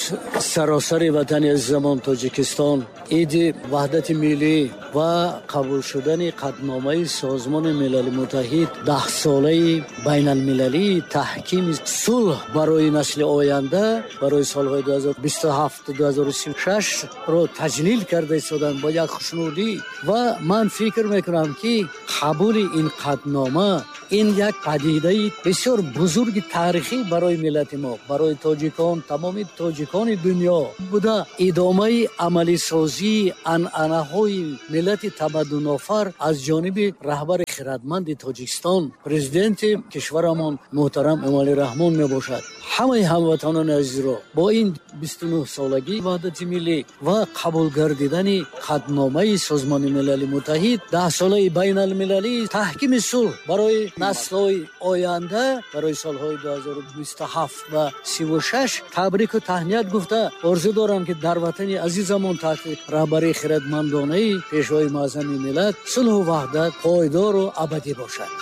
саросари ватани азизамон Тоҷикистон иди ваҳдати миллӣ ва қабул шудани қатъномаи Созмони Милали Муттаҳид даҳсолаи байналмилалии таҳкими сулҳ барои насли оянда барои солҳои ду ҳазору бисту ҳафт ду ҳазору сию шаш ро таҷлил карда истоданд бо як хушнудӣ. Ва ман фикр мекунам, ки қабули ин қатънома ин як падидаи бисёр бузурги таърихӣ барои миллати мо, барои тоҷикон, тамоми тоҷикони дунё буда, идомаи амалисозии анъанаҳои миллати тамаддунофар аз ҷониби раҳбари хирадманди Тоҷикистон, президенти кишварамон муҳтарам Эмомалӣ Раҳмон мебошад. Ҳамаи ҳамватанони азизро бо ин бисту нӯҳ солагии ваҳдати миллӣ ва қабул гардидани қатъномаи Созмони Милали Муттаҳид даҳсолаи байналмилалии таҳкими сулҳ барои наслҳои оянда барои солҳои ду ҳазору бисту ҳафт ва сиву шаш табрику таҳният гуфта орзу дорам, ки дар ватани азизамон таҳти раҳбарии хирадмандонаи пешвои муаззами миллат сулҳу ваҳдат пойдору абадӣ бошад.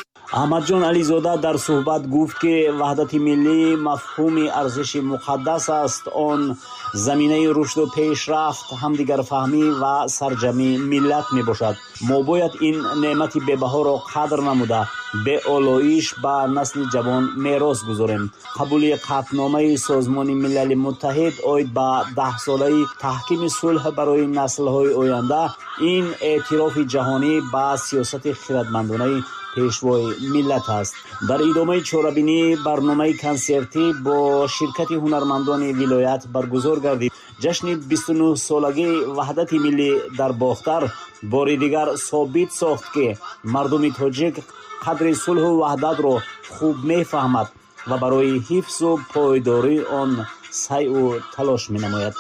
Аҳмадҷон Ализода дар суҳбат гуфт, ки ваҳдати миллӣ мафҳуми арзиши муқаддас аст. Он заминаи рушду пешрафт, ҳамдигарфаҳмӣ ва сарҷамъи миллат мебошад. Мо бояд ин неъмати бебаҳоро қадр намуда, беолоиш ба насли ҷавон мерос гузорем. Қабули қатъномаи Созмони Милали Муттаҳид оид ба даҳсолаи таҳкими сулҳ барои наслҳои оянда ин эътирофи ҷаҳонӣ ба сиёсати хирадмандонаи пешвои миллат аст. Дар идомаи чорабинӣ барномаи консертӣ бо ширкати ҳунармандони вилоят баргузор гардид. Ҷашни бисту нӯҳ солагии ваҳдати миллӣ дар Бохтар бори дигар собит сохт, ки мардуми тоҷик қадри сулҳу ваҳдатро хуб мефаҳмад ва барои ҳифзу пойдории он сайъу талош менамояд.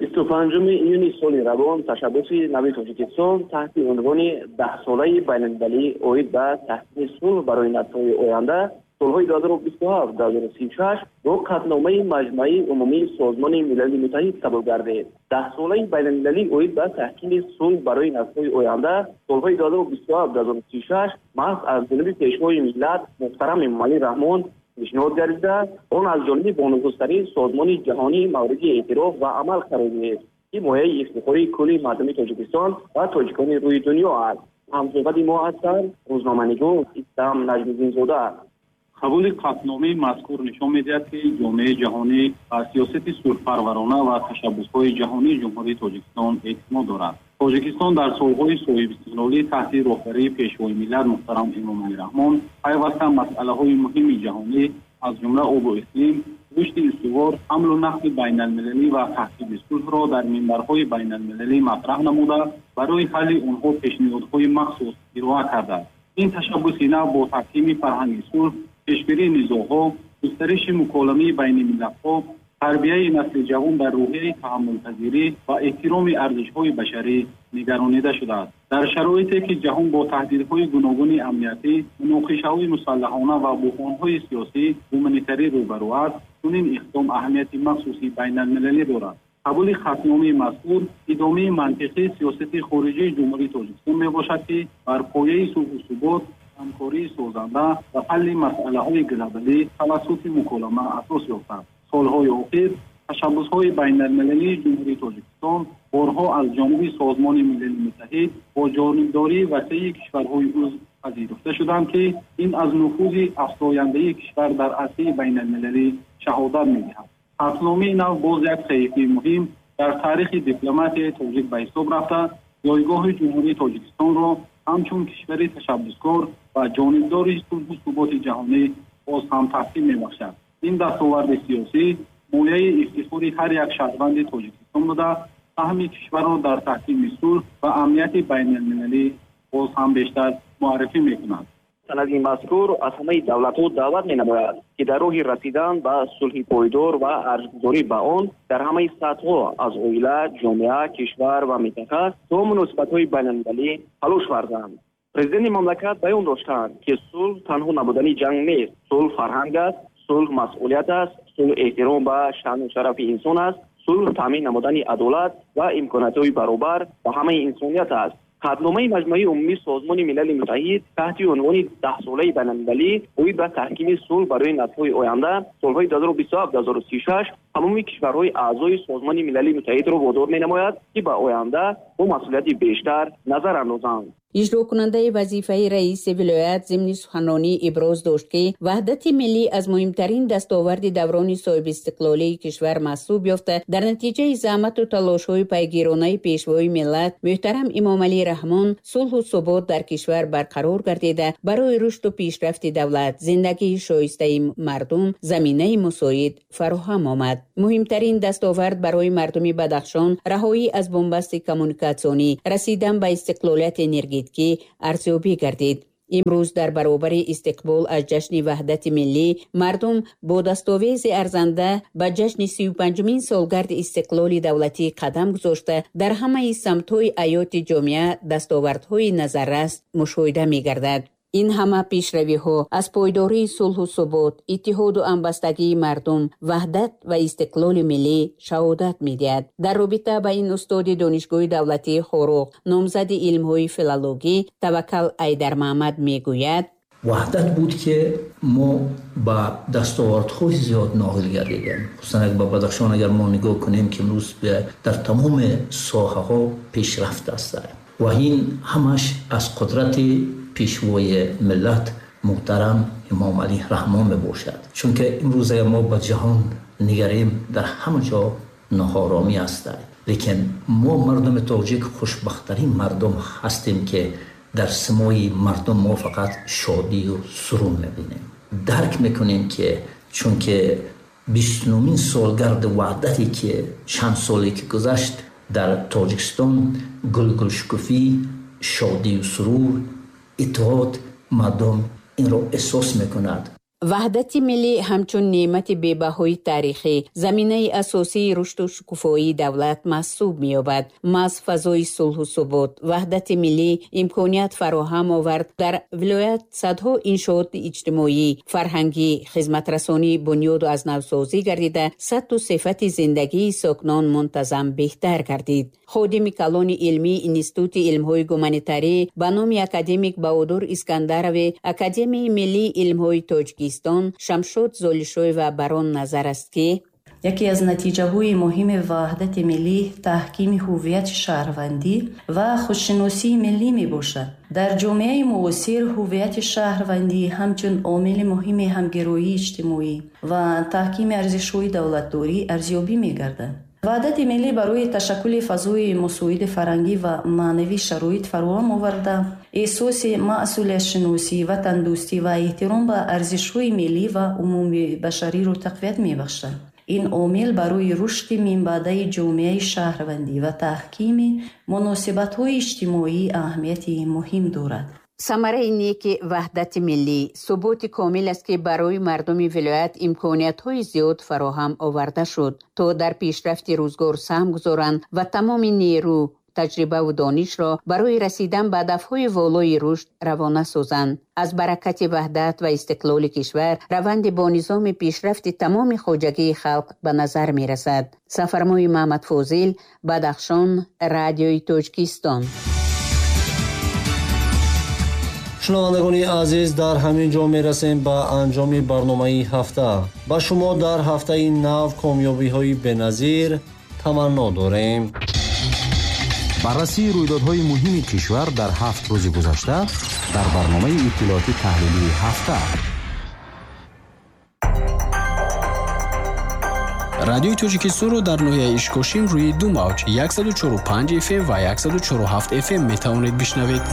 бисту панҷуми июни соли равон ташаббуси нави Тоҷикистон таҳти унвони даҳсолаи байналмилалӣ оид ба таҳкими сулҳ барои наслҳои оянда солҳои ду ҳазору бисту ҳафт ду ҳазору сию шаш бо қатъномаи Маҷмаи умумии Созмони Милали Муттаҳид қабул гардид. Даҳсолаи байналмилалӣ оид ба таҳкими сулҳ барои наслҳои оянда солҳои ду ҳазору бисту ҳафт ду ҳазору сию шаш маҳз аз ҷониби пешвои миллат муҳтарам Эмомалӣ Раҳмон пешниҳод гардида, он аз ҷониби бонуфузтарин созмони ҷаҳонӣ мавриди эътироф ва амал қарор гирифт, ки мояи ифтихори кулли мардуми Тоҷикистон ва тоҷикони рӯи дунё аст. Ҳамсӯҳбати мо ҳастанд рӯзноманигор Истам Наҷмиддинзода. Қабули қатъномаи мазкур нишон медиҳад, ки ҷомеаи ҷаҳонӣ ба сиёсати сулҳпарварона ва ташаббусҳои ҷаҳонии Ҷумҳурии Тоҷикистон эътимод дорад. Тоҷикистон дар солҳои соҳибистиқлолӣ таҳти роҳбарии пешвои миллат муҳтарам Эмомалӣ Раҳмон пайваста масъалаҳои муҳими ҷаҳонӣ аз ҷумла обу иқлим, рушди устувор, ҳамлу нақли байналмилалӣ ва таҳкими сулҳро дар минбарҳои байналмилалӣ матраҳ намуда, барои ҳалли онҳо пешниҳодҳои махсус ироа кардааст. Ин ташаббуси нав бо таҳкими фарҳанги сулҳ, пешгирии низоъҳо, густариши муколамаи байни миллатҳо Тарбияи насли ҷавон дар рӯҳияи таҳаммулпазирӣ ва эҳтироми арзишҳои башарӣ нигаронида шудааст. Дар шароите ки ҷаҳон бо таҳдидҳои гуногуни амниятӣ, муноқишаҳои мусаллаҳона ва буҳронҳои сиёсӣ гуманитарӣ рӯбарӯ аст, чунин иқдом аҳамияти махсуси байналмилалӣ дорад. Қабули қатъномаи мазкур идомаи мантиқии сиёсати хориҷии Ҷумҳурии Тоҷикистон мебошад, ки бар пояи сулҳу субот, ҳамкории созанда ва ҳалли масъалаҳои глобалӣ тавассути муколама асос ёфтааст. Солҳои охир ташаббусҳои байналмилалии Ҷумҳурии Тоҷикистон борҳо аз ҷониби Созмони Милали Муттаҳид бо ҷонибдории васеи кишварҳои узв пазируфта шуданд, ки ин аз нуфузи афзояндаи кишвар дар арсаи байналмилалӣ шаҳодат медиҳад. Қатъномаи нав боз як саҳифаи муҳим дар таърихи дипломатияи тоҷик ба ҳисоб рафта, ҷойгоҳи Ҷумҳурии Тоҷикистонро ҳамчун кишвари ташаббускор ва ҷонибдори сулҳу суботи ҷаҳонӣ боз ҳам таҳким мебахшад. Ин дастоварди сиёсӣ мояи ифтихори ҳар як шаҳрванди Тоҷикистон буда, саҳми кишварро дар таҳкими сулҳ ва амнияти байналмилалӣ боз ҳам бештар муаррифӣ мекунад. Санади мазкур аз ҳамаи давлатҳо даъват менамояд, ки дар роҳи расидан ба сулҳи пойдор ва арзгузорӣ ба он дар ҳамаи сатҳҳо аз оила, ҷомеа, кишвар ва минтақа то муносибатҳои байналмилалӣ талош варзанд. Президенти мамлакат баён доштанд, ки сулҳ танҳо набудани ҷанг нест. Сулҳ фарҳанг аст, сулҳ масъулият аст, сулҳ эҳтиром ба шаъну шарафи инсон аст, сулҳ таъмин намудани адолат ва имкониятҳои баробар ба ҳамаи инсоният аст. Қатъномаи Маҷмӯаи Умумии Созмони Милали Муттаҳид таҳти унвони даҳсолаи байналмилалӣ оид ба таҳкими сулҳ барои наслҳои оянда солҳои ду ҳазору бисту ҳафт - ду ҳазору сию шаш тамоми кишварҳои аъзои Созмони Милали Муттаҳидро водор менамояд, ки ба оянда бо масъулияти бештар назар андозанд. Иҷрокунандаи вазифаи раиси вилоят зимни суханронӣ иброз дошт, ки ваҳдати миллӣ аз муҳимтарин дастоварди даврони соҳибистиқлолии кишвар маҳсуб ёфта, дар натиҷаи заҳмату талошҳои пайгиронаи пешвои миллат муҳтарам Эмомалӣ Раҳмон сулҳу субот дар кишвар барқарор гардида, барои рушду пешрафти давлат, зиндагии шоистаи мардум заминаи мусоид фароҳам омад. Муҳимтарин дастовард барои мардуми Бадахшон раҳоӣ аз бунбасти коммуникатсионӣ, расидан ба истиқлолияти энергетикӣ арзёбӣ гардид. Имрӯз дар баробари истиқбол аз ҷашни ваҳдати миллӣ мардум бо дастовези арзанда ба ҷашни сию панҷумин солгарди истиқлоли давлатӣ қадам гузошта, дар ҳамаи самтҳои ҳаёти ҷомеа дастовардҳои назаррас мушоҳида мегардад. Ин ҳама пешравиҳо аз пойдории сулҳу субот, иттиҳоду ҳамбастагии мардум, ваҳдат ва истиқлоли миллӣ шаҳодат медиҳад. Дар робита ба ин устоди Донишгоҳи давлатии Хоруғ, номзади илмҳои филологӣ Таваккал Айдармаҳмад мегӯяд: ваҳдат буд, ки мо ба дастовардҳои зиёд ноил гардидем. Хусусан ба Бадахшон агар мо нигоҳ кунем, ки имрӯз дар тамоми соҳаҳо пешрафт аст ва ин ҳамаш аз қудрати пешвои миллат муҳтарам Эмомалӣ Раҳмон мебошад. Чунки имрӯз агар мо ба ҷаҳон нигарем, дар ҳама ҷо ноҳоромӣ аст, лекин мо мардуми тоҷик хушбахттарин мардум ҳастем, ки дар симои мардум мо фақат шодию сурур мебинем. Дарк мекунем, ки чунки бистунумин солгарди ваҳдате ки чанд соле ки гузашт дар Тоҷикистон гулгулшукуфӣ, шодию сурур, иттиҳод мардум инро эҳсос мекунад. Ваҳдати миллӣ ҳамчун неъмати бебаҳои таърихӣ, заминаи асосии рушду шукуфоии давлат маҳсуб меёбад. Маҳз фазои сулҳу субот, ваҳдати миллӣ имконият фароҳам овард дар вилоят садҳо иншооти иҷтимоӣ, фарҳангӣ, хизматрасонӣ бунёду аз навсозӣ гардида, сатҳу сифати зиндагии сокинон мунтазам беҳтар гардид. Ходими калони илмии Институти илмҳои гуманитарӣ ба номи академик Баҳодур Искандарови Академияи миллии илмҳои Тоҷикистон Шамшод Золишоева бар он назар аст, ки яке аз натиҷаҳои муҳими ваҳдати миллӣ таҳкими ҳуввияти шаҳрвандӣ ва худшиносии миллӣ мебошад. Дар ҷомеаи муосир ҳуввияти шаҳрвандӣ ҳамчун омили муҳими ҳамгироии иҷтимоӣ ва таҳкими арзишҳои давлатдорӣ арзёбӣ мегардад. Ваҳдати миллӣ барои ташаккули фазои мусоиди фарҳангӣ ва маънавӣ шароит фароҳам оварда, эҳсоси масъулиятшиносӣ, ватандӯстӣ ва эҳтиром ба арзишҳои миллӣ ва умумибашариро тақвият мебахшад. Ин омил барои рушди минбаъдаи ҷомеаи шаҳрвандӣ ва таҳкими муносибатҳои иҷтимоӣ аҳамияти муҳим дорад. Самараи неки ваҳдати миллӣ суботи комил аст, ки барои мардуми вилоят имкониятҳои зиёд фароҳам оварда шуд, то дар пешрафти рӯзгор саҳм гузоранд ва тамоми нерӯ, таҷрибаву донишро барои расидан ба ҳадафҳои волои рушд равона созанд. Аз баракати ваҳдат ва истиқлоли кишвар раванди бо низоми пешрафти тамоми хоҷагии халқ ба назар мерасад. Сафармои Маҳмадфозил, Бадахшон, Радиои Тоҷикистон. Шунавандагони азиз, дар ҳамин ҷо мерасем ба анҷоми барномаи ҳафта. Ба шумо дар ҳафтаи нав комёбиҳои беназир таманно дорем. Баррасии рӯйдодҳои муҳими кишвар дар ҳафт рӯзи гузашта дар барномаи иттилооти таҳлилии ҳафта. Радиои Тоҷикистонро дар ноҳияи Ишкошим рӯи ду мавҷ яксаду чору панҷ F M ва яксаду чору ҳафт F M метавонед бишнавед.